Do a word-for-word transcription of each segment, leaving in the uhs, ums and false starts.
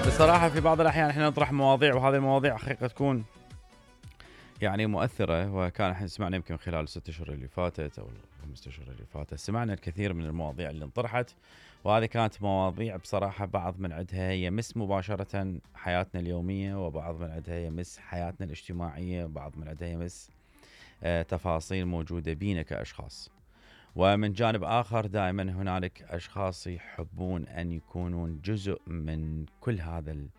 بصراحة في بعض الأحيان احنا نطرح مواضيع، وهذه المواضيع حقيقة تكون يعني مؤثرة. وكان احنا سمعنا يمكن خلال الست اشهر اللي فاتت او الخمسة اشهر اللي فاتت سمعنا الكثير من المواضيع اللي انطرحت، وهذه كانت مواضيع بصراحة بعض من عندها يمس مباشرة حياتنا اليومية، وبعض من عندها يمس حياتنا الاجتماعية، وبعض من عندها يمس آه تفاصيل موجودة بينا كأشخاص. ومن جانب آخر دائما هنالك أشخاص يحبون أن يكونون جزء من كل هذا ال...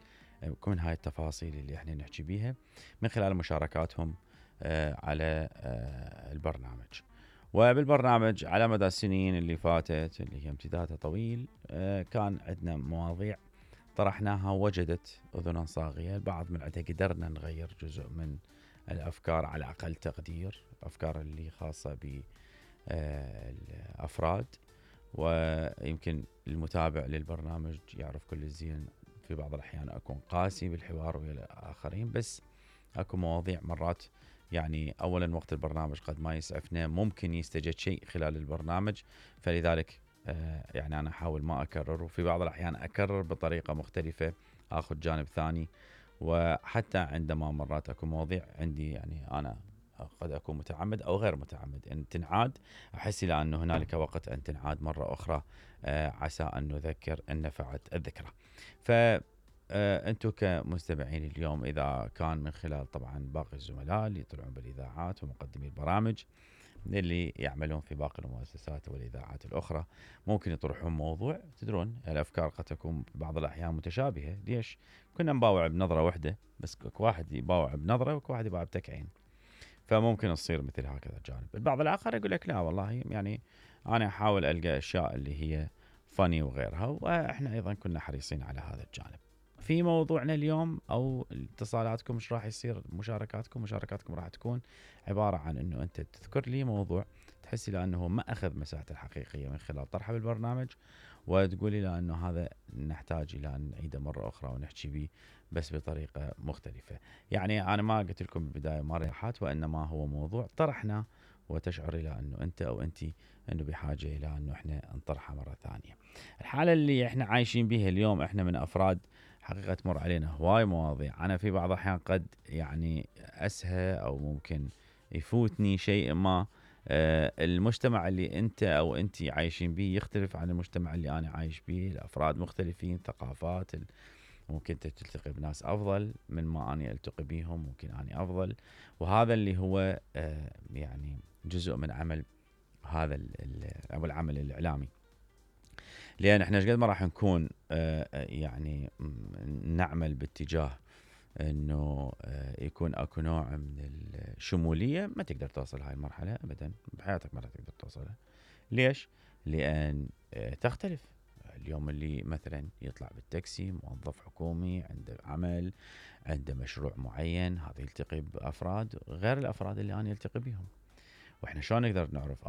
كل هاي التفاصيل اللي احنا نحكي بيها من خلال مشاركاتهم آه على آه البرنامج. وبالبرنامج على مدى السنين اللي فاتت اللي هي امتدادها طويل آه كان عندنا مواضيع طرحناها وجدت أذنا صاغية. البعض من عندها قدرنا نغير جزء من الأفكار على أقل تقدير، أفكار اللي خاصة ب الأفراد. ويمكن المتابع للبرنامج يعرف كل الزين في بعض الأحيان أكون قاسي بالحوار ويا الآخرين، بس أكو مواضيع مرات يعني أولا وقت البرنامج قد ما يسعفنا، ممكن يستجد شيء خلال البرنامج، فلذلك يعني أنا أحاول ما أكرر، وفي بعض الأحيان أكرر بطريقة مختلفة، أخذ جانب ثاني. وحتى عندما مرات أكو مواضيع عندي يعني أنا قد أكون متعمد أو غير متعمد أن تنعاد، أحس إلى أن هنالك وقت أن تنعاد مرة أخرى آه عسى أن نذكر أن نفعت الذكرى. فأنتم كمستمعين اليوم إذا كان من خلال طبعا باقي الزملاء اللي يطلعون بالإذاعات ومقدمي البرامج اللي يعملون في باقي المؤسسات والإذاعات الأخرى، ممكن يطرحون موضوع. تدرون الأفكار قد تكون بعض الأحيان متشابهة، ليش؟ كنا نباوع بنظرة واحدة، بس واحد يباوع بنظرة وواحد يباوع بتكعين، فممكن تصير مثل هكذا الجانب. البعض الآخر يقول لك لا والله يعني أنا أحاول ألقى أشياء اللي هي فني وغيرها، وإحنا أيضا كنا حريصين على هذا الجانب. في موضوعنا اليوم أو اتصالاتكم مش راح يصير مشاركاتكم مشاركاتكم راح تكون عبارة عن أنه أنت تذكر لي موضوع تحس لي أنه ما أخذ مساحته الحقيقية من خلال طرحه بالبرنامج، وتقولي لي أنه هذا نحتاج إلى أن نعيده مرة أخرى ونحكي به بس بطريقة مختلفة. يعني أنا ما قلت لكم بالبداية ما ريحات، وإنما هو موضوع طرحنا وتشعر إلى أنه أنت أو أنتي أنه بحاجة إلى أنه إحنا نطرحها مرة ثانية. الحالة اللي إحنا عايشين بها اليوم إحنا من أفراد حقيقة تمر علينا هواي مواضيع، أنا في بعض الأحيان قد يعني أسهى أو ممكن يفوتني شيء ما. آه المجتمع اللي أنت أو أنتي عايشين به يختلف عن المجتمع اللي أنا عايش به، الأفراد مختلفين، ثقافات، ممكن تلتقي بناس أفضل من ما أنا ألتقي بيهم، ممكن أنا أفضل. وهذا اللي هو آه يعني جزء من عمل هذا أو العمل الإعلامي، لأن إحنا قد ما راح نكون آه يعني نعمل باتجاه إنه آه يكون أكو نوع من الشمولية، ما تقدر توصل هاي المرحلة أبدا بحياتك، ما تقدر توصلها. ليش؟ لأن آه تختلف. اليوم اللي مثلا يطلع بالتاكسي موظف حكومي عنده عمل عنده مشروع معين، هذا يلتقي بأفراد غير الأفراد اللي أنا يلتقي بهم. وإحنا شلون نقدر نعرف